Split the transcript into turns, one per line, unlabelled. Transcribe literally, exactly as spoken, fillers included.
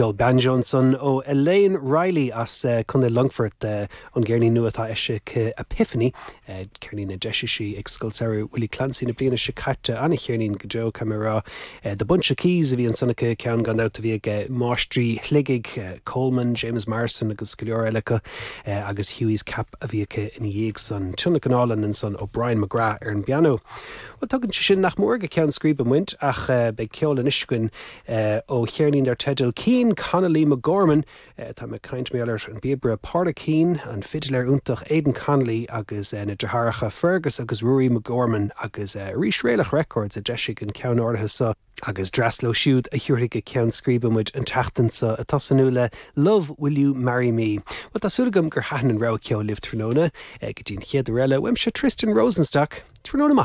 Ceol banjo ansan ó Elaine Riley as uh, Contae Longfoirt uh, an gceirnín nua atá eisithe Epiphany uh, ceirnín a d'eisigh sí ag Scoil Samhraidh Willie Clancy na bliana seo caite an-cheirnín go deo camrá uh, The Bunch of Keys a bhí ansan aici ceann gan dabht a bhí ag máistrí Shligigh uh, Coleman, James Morrison agus go leor eile uh, agus Hughie's Cap a bhí aici ina dhiaidh san tionlacan álainn ansan ó Brian McGrath ar an bpianó. Well tugann sé sin nach mór go ceann scríbe muid ach uh, beidh ceol anois againn uh, ó cheirnín dar teideal Keane Connolly McGorman uh, tá mé ag caint ar an bpíobaire Pádraic Keane an fidléir iontach Aidan Connolly agus uh, na deartháireacha Fergus agus Rory McGorman agus uh, arís Réalach Records a d'eisigh an ceann áirithe seo. agus dreas leo siúd a thabharfaidh go ceann scríbe muid an tseachtain seo ag tosnú le Love Will You Marry Me. Well tá súil agam gur thaitin an rogha ceoil libh tráthnóna go dtí an chéad uair eile uaimse Tristan Rosenstock tráthnóna maith.